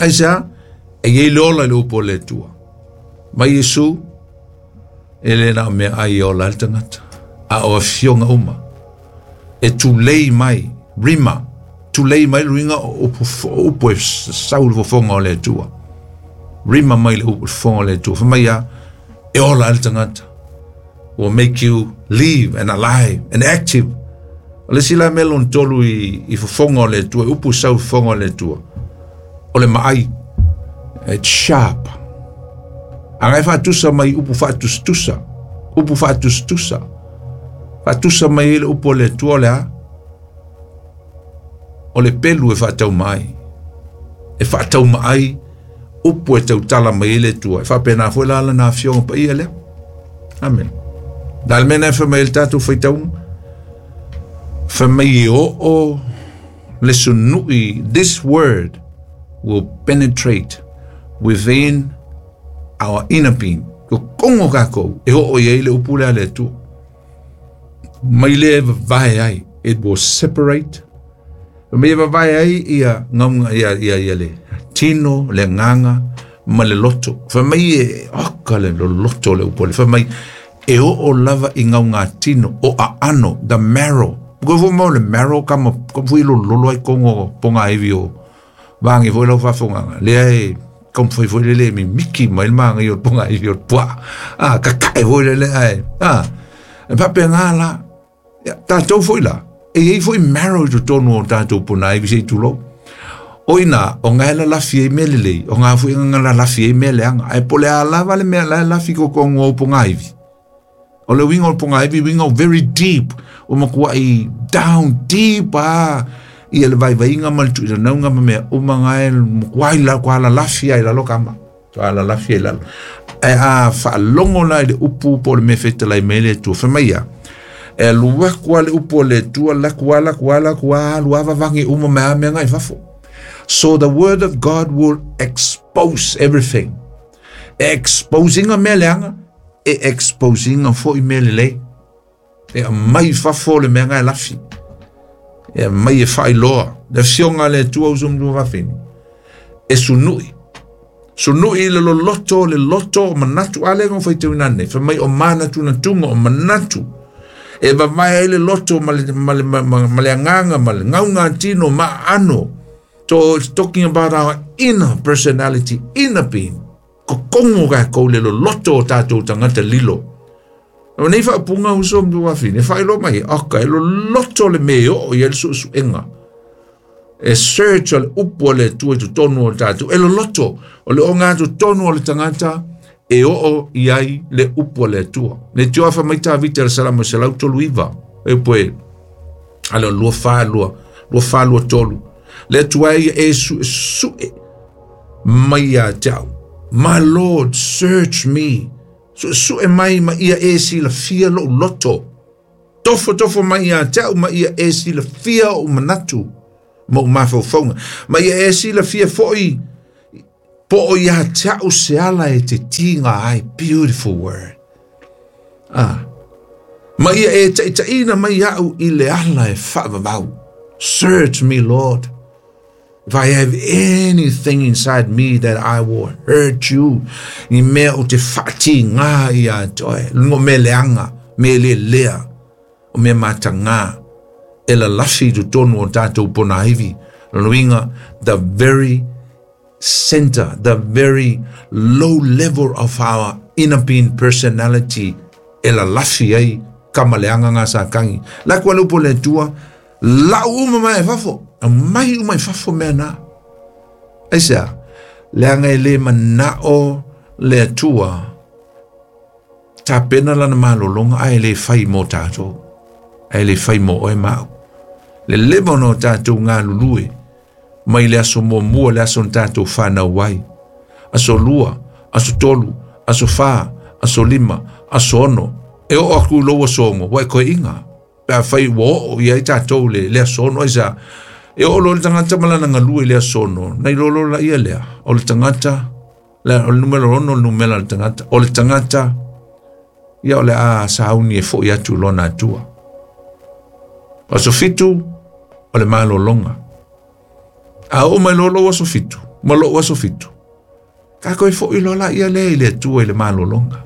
Aisea, e i ai le ola i le upu o le Atua. Mai Iesu, e le na o meaai e ola ai le tagata, a o afioga uma. E tulei mai, rima, tulei mai le uiga o upu e sau le fofoga o le Atua. Rima mai le upu fofoga o le Atua. Fai mai a, e ola ai le tagata. Will make you live and alive and active. O le isi la mea lona tolu i, i fofoga o le Atua, upu sau fofoga o le Atua. O le maai, it's sharp. A ngai faatusa mai upu faatusatusa, upu faatusatusa. Faatusa mai ai le upu o le Atua o le a? O le pelu e faatauma ai. E faatauma ai upu e tautala mai ai le Atua. E faapena foi la lana afioga paia lea. Amen. La le mea na e fai mai ai le tatou faitauga. Fai mai e oo le sunui. This word will penetrate within our inner being. Kokongo kākou e oo i ai le upu lea le Atua. Mai le vavae ai. It will separate. Mai e vavae ai ia ngaunga ia, ia, ia le tino, le agaga ma le loto. Fai mai e oka le loto le upu le. Fai mai e oo lava i ngauga tino o aano, the marrow. Ko fo mau le marrow kama ka fui lo lolo ai kongo ponga iwi o vangi foi lau faafogaga. Lea e kaumafai foi le le mimiki mai le magai o le ponga iwi o le puaa. Ah, kakae foi le le ae. Ah, e faapena la. Ia, tatou foi la. E i ai foi marrow i totonu o tatou pona iwi se i tulou. O ina, o ngae lalafi ai mea lelei, o ngā foi nga lalafi ai mea leaga. Ae po o le a lava le mea la e lafi kokongo o ponga iwi. O le uiga o le ponga iwi, uiga o very deep, o matuai down deep a ia le vaivaiga ma le tuuinanauga ma mea uma ngae matuai la kwa lalafi ai lalo kama. Kwa lalafi ai lalo. Ae a faalogo la i le upu po o le mea fetalai mai le Atua. Fai mai ia, e alu aku a le upu o le Atua, laku a, laku a, laku a, alu a vavagi uma mai a mea ngai fafo. So the word of God will expose everything. E exposinga mea leaga, e exposinga foi mea lelei. E aumai fafo le mea ngai lafi. E aumai e faailoa. Le afioga a le Atua uso ma lua vafine. E sunui. Sunui le loloto, le loto o manatu. A lea na faitauina nei. Fai mai o manatunatuga o manatu. E vavae ai le loto ma le, ma le, ma, ma, ma le agaga, ma le gaugatino, ma aano. So it's talking about our inner personality, inner being. Kokongo kākou le loloto o tātou tagata lilo. O nei faapuga uso ma lua vafine, e faailoa mai, oka, e loloto le mea e oo i ai le suesuega. E search o le upu a le Atua i totonu o tātou. E loloto o le oga totonu o le tagata e oo i ai le upu a le Atua. Le tio afa mai Tavita le Salamo selau tolu iva. E poe, ale o lua fa lua, lua fa lua tolu. Le Atua e ia e sue sue mai ia te au. My Lord, search me. Sue sue mai ma ia e silafia lou loto. Tofo tofo mai ia te au ma ia e silafia o manatu ma o mafaufauga. Ma ia e silafia foi po o ia te au se ala e te tiga ai. Beautiful word. Ah. Ma ia e taitaina mai au i le ala e faavavau. Search me, Lord. If I have anything inside me that I will hurt you, ni mea o te whaati ngā ia toe, lungo me leanga, me le lea, o me mata ngā, e la lafi tu tonu o tātou pona iwi. Lonuinga, the very center, the very low level of our inner being personality, e la lafi ai, kama leanga ngā sa kangi. La kua lupo le tua, lau uma mai e fafo, a mai uma e fafo mea nā. Aisea, leanga e le manao le atua, tā pena lana malolonga, ai le whai mō tātou, ai le whai mō oe mau. Le leva no tātou ngā lulue, mai le aso mō mua le aso tātou whanau wai. Aso lua, aso tolu, aso whā, aso lima, aso ono, e o aku loa songo, wai koe inga. Pea whai wo o ia i tātou le, le asono, aisa, e o lo le tangata malana ngalue le asono, nei lolo la ia lea, o le tangata, le, o le numero ono, o le numera le tangata, o le tangata, ia o le a sauni e fo i atu lona atua. Aso fitu, o le malolonga. A o mai lolo aso fitu, ma lo aso fitu. Ka koe fo i lola ia lea i le atua i le malolonga.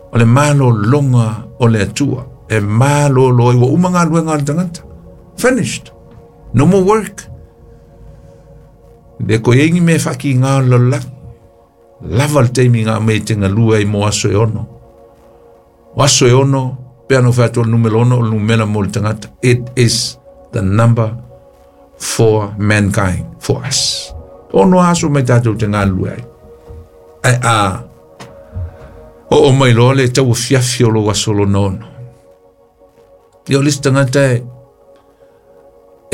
O le malolonga o le atua. E malolo i wa uma ngā luenga le tangata. Finished. No more work. Le ko engi me whaki ngā lola. Lava le teimi ngā me te ngā lua i mo aso e ono. O aso e ono, pea no whatua le numero ono, o le numera mo le tangata. It is the number for mankind, for us. Ono aso mai tātou te ngā lua ai. Ai a, o o mai loa le tau fiafi o lo aso lo nono. Ia o lisi tangata e,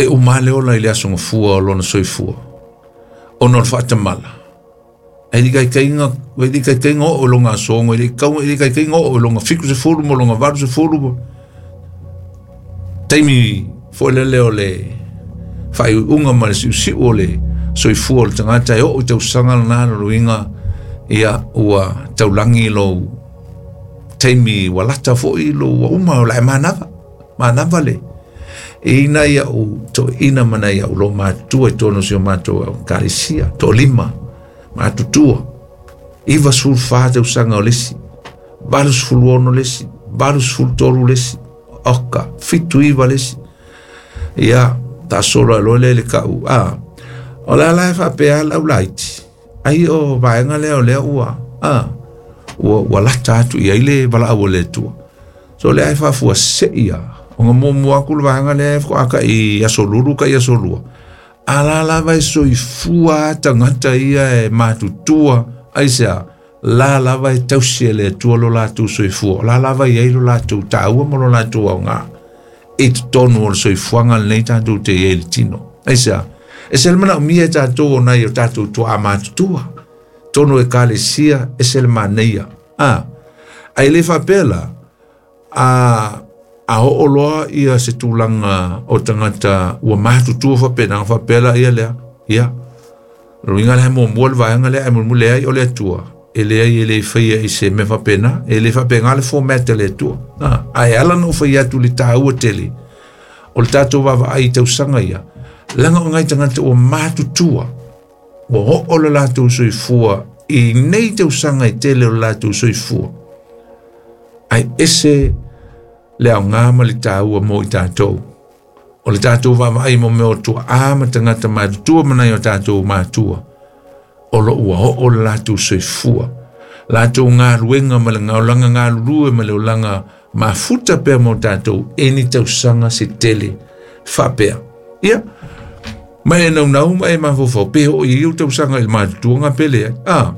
e umale ola i le aso ngafua o lona soifua. Ono le whaatamala. E di kai kainga, e di kai kainga o longa songo, e di kaunga, e di kai kainga o longa fiku se fulu, mo longa varu se fulu. Taimi foelele o le whai unga ma le siusiu o le soifua o le tangata e o tau sanga nā luinga ia ua taulangi lo taimi walata foi lo ua uma o la e manava. Manava le. E ina ia u to ina mana ia u lo matua e tono si o matua o karisia, to lima, matutua. Iwa sulfa te usanga o lesi, valu suluono lesi, valu sultoru lesi, oka, fitu iwa lesi. Ia, ta solo e loe le kau. Ah, o la la e whapea lau laiti. Ai o vaenga lea o lea ua. Ah, ua, ua lata atu ia ile wala au le tua. So lea e whafua se ia. O ngā mō aku le vaenga lea e whaka i aso lulu ka i aso lua. A la la vai soifua tangata ia e matutua. Aisea, la la vai tausi e le tua lo lātou soifua. La la vai ei lo lātou tāua mo lo lātou au ngā. E te tonu o le soifuanga nei tātou te e le tino. Aisea, e se le mana o mia e tātou o nei o tātou tua a matutua. Tono e kalesia e se le maneia. Ah, ai le whapela, a a ho'oloa ia se tulaga o tagata ua matutua faapena faapela ia lea ia luiga le muamua le vaega lea ae mulimuli ai o le Atua e leai e le faia i se mea faapena e le faapena le format le Atua ae ala na ou faia atu le tāua tele o le tatou vaavaai i tausaga ia laga o ngai tagata ua matutua ua oo le latou soifua i nei tausaga i tele o le latou soifua ae ese le aoga ma le tāua mo i tātou. O le tātou vaavaai mo mea o tuaā ma tagata matutua ma nai o tātou matua. O lo ua oo le latou soifua. Latou galuega ma le gaolaga galulue ma le olaga mafuta pea mo tātou e ni tausaga se tele faapea. Ia, ma e naunau ma e mafaufau pe oo i iu tausaga i le matutuaga pe leai. Ah,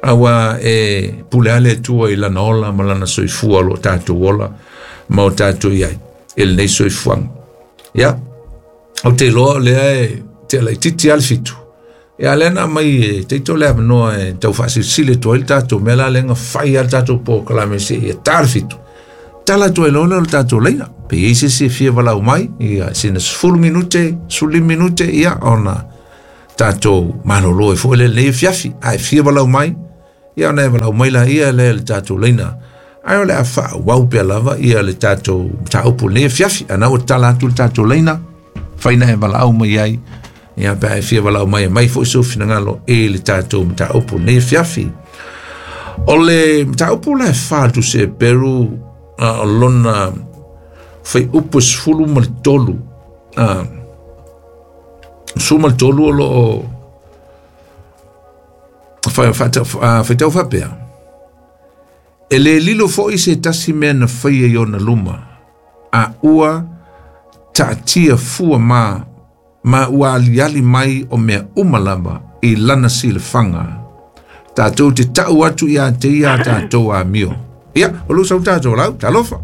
aua e pule ale Atua i lana ola ma lana soifua o lo tātou ola ma o tātou iai e lenei soifuaga. Ia, o te loa lea e te ala itiiti a le fitu. Ia lea na mai e teito le avanoa e tau faasilisili atu ai le tatou mea la lega fai a le tatou polokalame seia tā le fitu. Tala atu ai loa lea o le tatou laina. Pe i ai se isi e fia valau mai, ia sina sefulu minute, sefululima minute, ia ona tatou malolo ai foi lea i lenei afiafi. Ae fia valau mai, ia ona e valau mai laia lea i le tatou laina. Ae o le a faaauau pea lava ia le tatou mataupu i lenei afiafi. A na ua tatala atu le tatou laina, faina e valaau mai ai, ia pe a e fia valaau mai e mai foi sou finagalo i le tatou mataupu i lenei afiafi. O le mataupu la e fa le Tusi a Heperu, o lona fuaiupu e sefulu ma le tolu, a, sefulu ma le tolu o loo faitau faapea, e le lilo foi se tasi mea na faia i ona luma, a ua taatia fua ma, ma ua aliali mai o mea uma lava i lana silafaga. Tatou te tau atu ia te ia tatou amio. Ia, o lou sau tatou lau, talofa.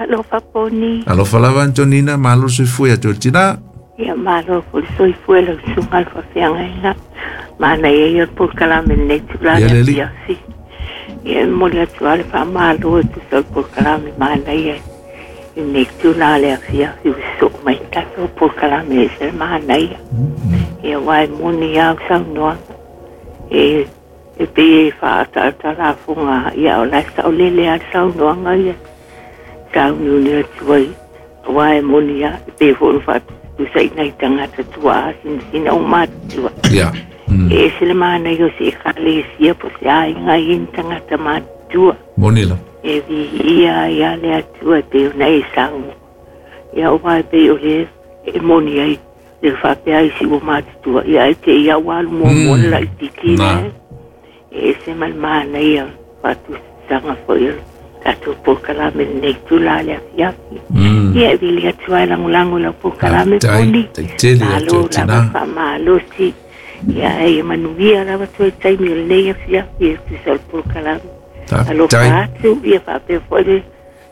Alofa poni. Alofa lava Antonina, malo soifua ia te oe tina. Ia malo foi le soifua lau susuga le faafeagaiga. Manaia ia o le polokalame lenei tulaga Ia le alii. afiafi. Ia e momoli atu lava le faamalo e tusa o le polokalame manaia i lenei tulaga le afiafi ua sosoo mai le tatou polokalame e ese le manaia. Ia aua e moni lava au saunoaga. E e pei e faaataatalafoga ia o la e saolele lava le saunoaga ia sauniuni atu ai aua e moni lava e pei foi ona faatusaina i tagata tuaa sinasina o matutua. Ia. Mm. E ese le manaia o se ekalesia po o se aiga i ni tagata matutua. Moni lava. E viia ai lava le Atua e pei ona e saunoa. Ia aua e pei o le e moni ai le faapea ai si ua matutua ia ae te i au alu muamua le laitiiti Na. lea. E ese ma le manaia faatusaga foi o le tatou polokalame lenei itula le afiafi. Mm. Ia e vili atu ai lagolago i lau polokalame Faafetai, poni. tai tele ia te Malo oe lava tina. faamalosi. Ia e manuia lava toe taimi o lenei afiafi e tusa o le polokalame. Alofa Faafetai. atu ia faapea foi le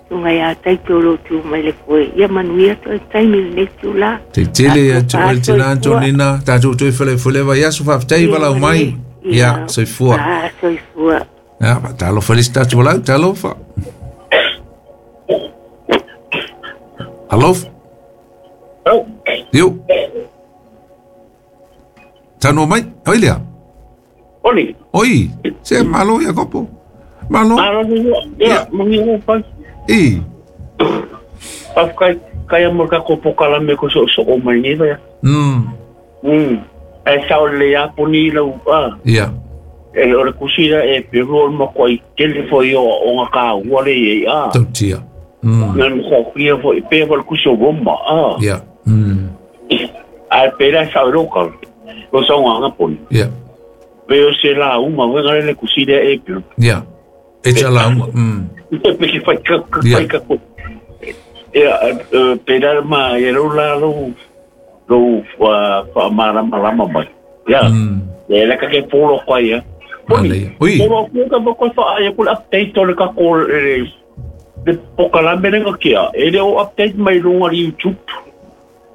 susuga ia Taito o lo o tu mai le foe. Ia manuia toe taimi o lenei itula. Tai tele ia te Alofa oe tina soifua. Antonina, tatou toe felefuele vaiaso, faafetai Ia valau mai. manuia. Ia, Ia soifua. ah, soifua. Ia, talofa le isi tatou valau, talofa. Alofa. Oh, Iu. Tanoa mai, oi lea. oli. Oi, se malo ia kopo. Malo. Malo ni ia, Ia. mangi o pai. I. Pafkai kai mo ka ko pokala me ko so so o mai ni ya. Mm. Mm. E sa o le ya poni lau a. Ia. E o le kusira e pe ro mo ko i tele fo i o o nga ka ua le i a. Tautia. Mm. Nga mo ko ia fo i pe fo le kusi o roma a. Ia. Mm. A pe la sa o ro ka. O sa o nga poni. Ia. Pe o se la uma we nga le kusira e pe. Ia. E tsa la uma. Mm. Pe ki fai ka ka Ia. fai ka ko. Ia pe la ma e ro la ro ro fa fa mara mara mai. Ia. Mm. E la ka ke polo kwa ia. Manaia. Ui. Polo ko ka ko fa ia ko update o le ka ko le le pokalame le kia. E le o update mai lunga i YouTube.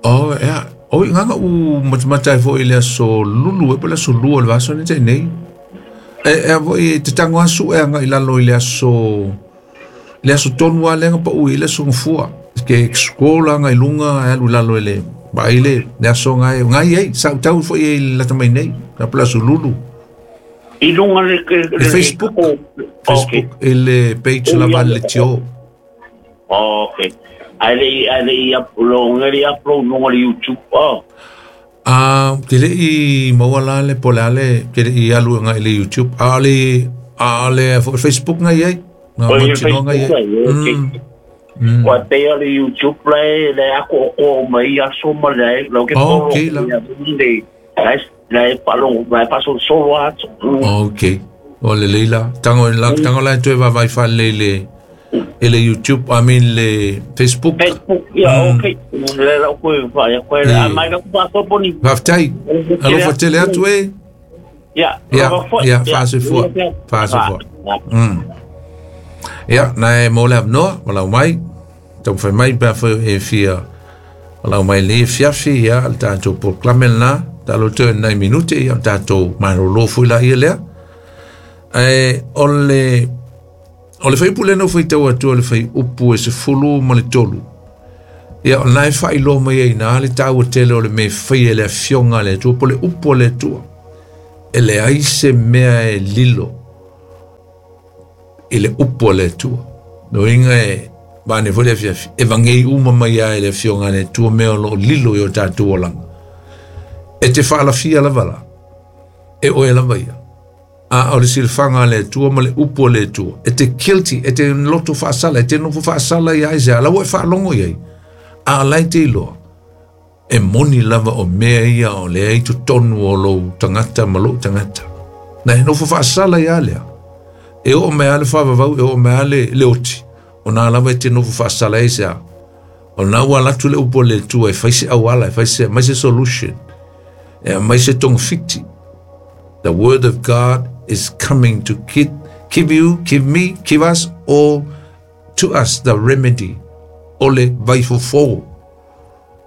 Oh, ia. Oi, nganga u matamata ai foi le aso lulu e po le aso lua o le vaiaso nei tai nei. E, e foi e te tango asu e anga i lalo i le aso le aso tonu a lenga pa ui le aso ngafua. Ke scroll anga i lunga e alu i lalo i le vai le le aso ngai ngai ei sa tau foi e lata mai nei na po le aso lulu. I lunga le Le Facebook. Facebook e le page lava le tio. Okay. Ai le ai le i upload le upload lunga le YouTube. Oh. Ah, ke le i maua la le po le ale ke le i alu ngai le YouTube. A le a le fo- Facebook ngai ai. Nga O le mautinoa ngai ai. Facebook ai, okay. Mm. Mm. Kua te le YouTube le le ako o mai aso ma le lo ke Oh, polo okay la. le le le palo le paso solo atu. Okay. O le leila. Tango la tango la toe va vai fa le le e le YouTube, I mean le Facebook. Facebook ia okay. Le la ko fa ia ko le Eh. mai ka pa so poni. Faafetai. Alofa tele atu e. Ia. Ia, ia, faasoifua. Faasoifua. Mm. Ia, na e mo le avanoa, walau mai. Taumafai mai pe afai e fia walau mai le fiafi, ia, le tatou polokalame lena. Talo toe nai minute, ia, le tatou malolo foi la ia lea. Ae o le O le whaiupu le nau whaitau atua le whaiupu e se fulu ma le tolu. Ia o nai whailoa mai ai nā le tāua tele o le me whai e le afionga le atua, po le upu le atua. E le ai se mea e lilo i le upu le atua. No inga e vane fo le afiafi, e vangei uma mai ai le afionga le atua mea o lo lilo i o tātua langa. E te whaalafia lava la, e oe lava ia. A o le silfanga le atua ma le upu le atua. E te guilty, e te loto whaasala, e te nofo whaasala ia ai se ala ua e whaalongo iai. A lai te iloa, e moni lava o mea ia o le ei tonu o lou tangata ma lou tangata. Na e nofo whaasala ia lea. E o mea le whavavau, e o mea le leoti. O nā lava e te nofo whaasala e se a. O nā ua latu le upu le atua e whaise awala, e whaise mai se solution. E mai se tongfiti. The word of God is coming to give, give you, give me, give us all, to us the remedy. Ole vai fofo.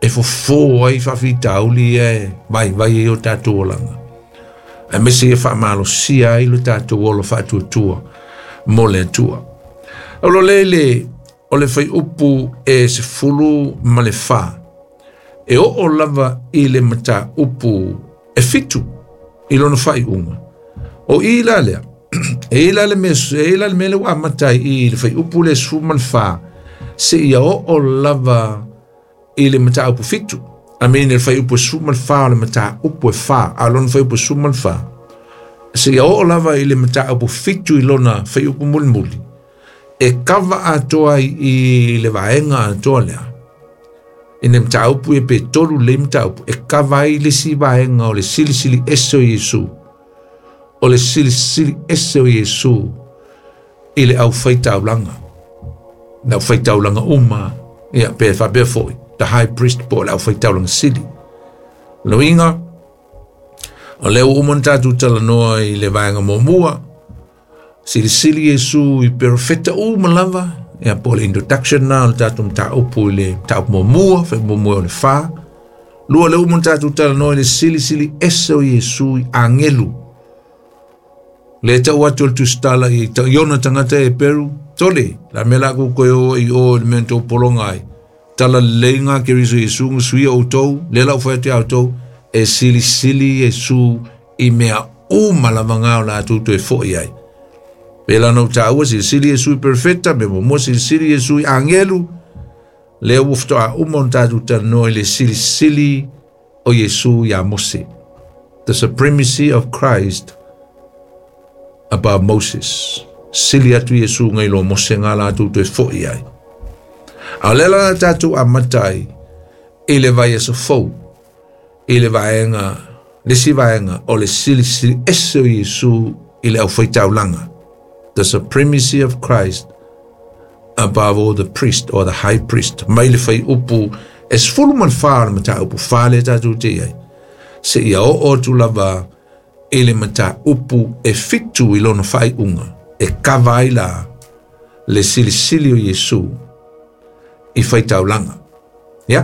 E fofo ai whawhitauli e vai vai e o tātou olanga. E mese e whaamalosia ai lo tātou olo whaatuatua mo le atua. O lo lele o le whai upu e se fulu ma le wha. E o o lava i le mata upu e fitu i lona whai unga. O i la lea, e i la le me, e i la le mele wa matai i le whai upu le sfu ma le wha. Se ia o o lava i le mata upu fitu. A mene le whai upu sfu ma le wha o le mata upu e wha. A lona whai upu sfu ma le wha. Se ia o o lava i le mata upu fitu i lona whai upu mulimuli. E kawa atoa i le vaenga atoa lea. I ne mata upu e pe tolu le mata upu. E kawa i le si vaenga o le silisili ese o Yesu. O le silisili ese o Yesu i le au whaitaulanga. Na whaitaulanga uma, ia pe whapea foi, the high priest po le au whaitaulanga sili. Loinga, o leo umon tātou talanoa i le vaenga momua, silisili Yesu i perfecta uma lava, ia po le introduction na, o le tātou mtāupu i le tāupu momua, whai momua o le wha. Lua le umon tātou talanoa i le silisili ese o Yesu i angelu. Le tau atu le tustala i iona tangata e Peru, tole, la mela ku koe o i o le mea tō polonga ai. Tala leinga ke riso Yesu ngusuia o tau, le lau whaete au tau, e silisili Yesu i mea uma lavanga o la atu toe foi ai. Pela nau tāua silisili Yesu i perfecta, me momoa silisili Yesu i angelu, le ufto a uma o tātou talanoa i le silisili o Yesu i a Mose. The supremacy of Christ above Moses. Sili atu Yesu ngai lo Mose ngā la atu toe foi ai. A lela tātou a matai i le vai aso fou, i le vaenga, le si vaenga o le silisili ese o Yesu i le au whaitaulanga. The supremacy of Christ above all the priest or the high priest. Mai le whai upu es fulu man wha le mata upu wha le tātou te ai. Se ia o o tu lava i le mata upu e fitu i lona whai unga. E kawa ai la le silisili o Yesu i whaitaulanga. Ia?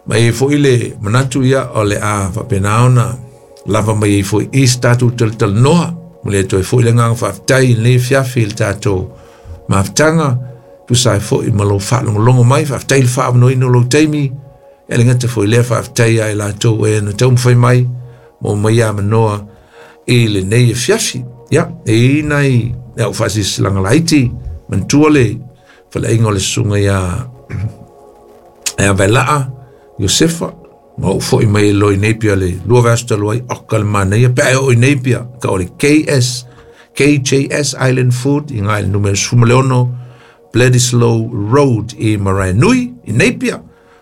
Mai e fo i le manatu ia o le a whapenaona lava mai e fo i tātou tal noa. Mo le toe fo i le nganga whaaftai i le fiafi i le tātou maftanga. Tu sai fo i malo whaalongolongo mai whaaftai le whaamano ino lo teimi. E le ngata fo i le whaaftai ai la tau e na tau mwhai mai mo mai a manoa i le nei e fiafi. Ia, e inai e au whaasisi langa laiti mantua le whaleinga o le sunga ia e a velaa Josefa ma o foi mai e loi Napier le lua vasta loi oka le mana ia pe o i Napier ka o le K S K J S Island Food i ngai le numero sumaleono Bledisloe Road i Maraenui i Napier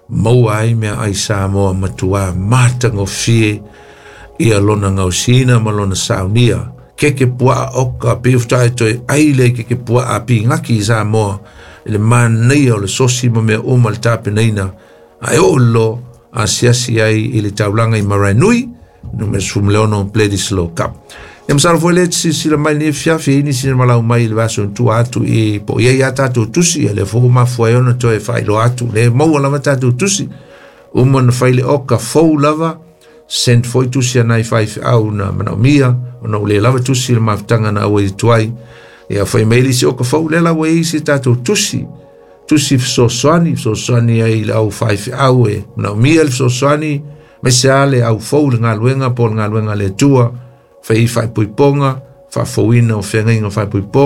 maua ai mea ai Samoa matua matagofie ia lona gausina ma lona saunia keke puaa oka piufutai toe ai le keke puaa pigaki i Samoa i le manaia o le sosi ma mea uma le tapenaina ae oo lo asiasi ai i le taulaga i Maraenui numero sefululeono Bledisloe Cup. Ia masalo foi le silasila mai lenei fiafi e nisi na malau mai i le vaaso tua atu i po o iai a tatou tusi ia le fou mafua ai ona toe faailoa atu le maua lava tatou tusi uma na fai le oka fou lava send foi tusi anai faifeau na manaomia ona ua lē lava tusi le mafutaga na auai atu ai Ia fai mai le isi o ka fau le la ua i se tatou tusi tusi fesoasoani fesoasoani ai i le au faifeau e manaomia le fesoasoani ma se a le au fou le galuega po o le galuega a le Atua fai faaipoipoga faafouina o feagaiga faaipoipoga.